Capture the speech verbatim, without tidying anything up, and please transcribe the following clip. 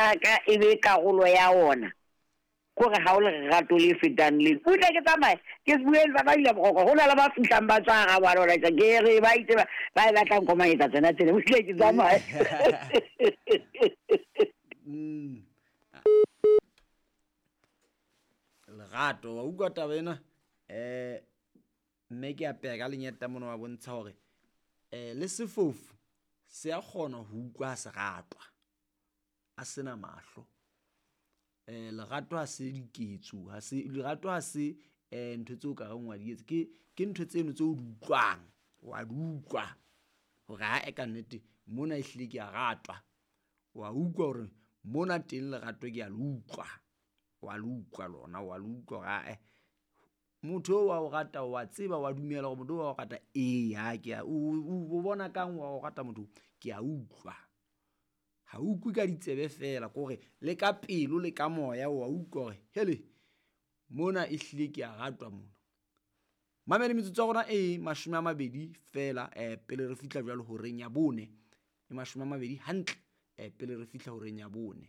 mathata a ka e be karolo ya ona. Kore ha o lerato le fetang le. Butle ke tsamaye ke bue le ba ile boroko ho na le ba fihlang ba tswa ga wa lona ke re ba itse ba e batlang komanyetsa tsena tsena butle ke tsamaye. Mm. Lerato wa utlwa taba ena eh mme ke a peha ka lenyeta mona wa bontsha hore eh le sefofu se a kgona ho utlwa se ratwa a sena mahlo. Eh lerato ha se diketso ha se lerato ha se eh ntho tseo ka reng wa di etsa ke ke ntho tseno tseo di utlwang wa di utlwa hore ha e ka nnete mona e hlile ke a ratwa wa utlwa hore mona teng lerato ke a le utlwa wa le utlwa lona wa le utlwa hore ae motho wa o rata wa tseba wa dumela hore motho wa o rata ee ha ke a o bona kang wa o rata motho ke a utlwa. Ha utlwe ka ditsebe fela kore le ka pelo le ka moya wa utlwa hore hele mona e hlile ke a ratwa mona. Mamele metsotso ya rona e mashome a mabedi fela eh pele re fihla jwalo horeng ya bone e mashome a mabedi hantle eh pele re fihla horeng ya bone.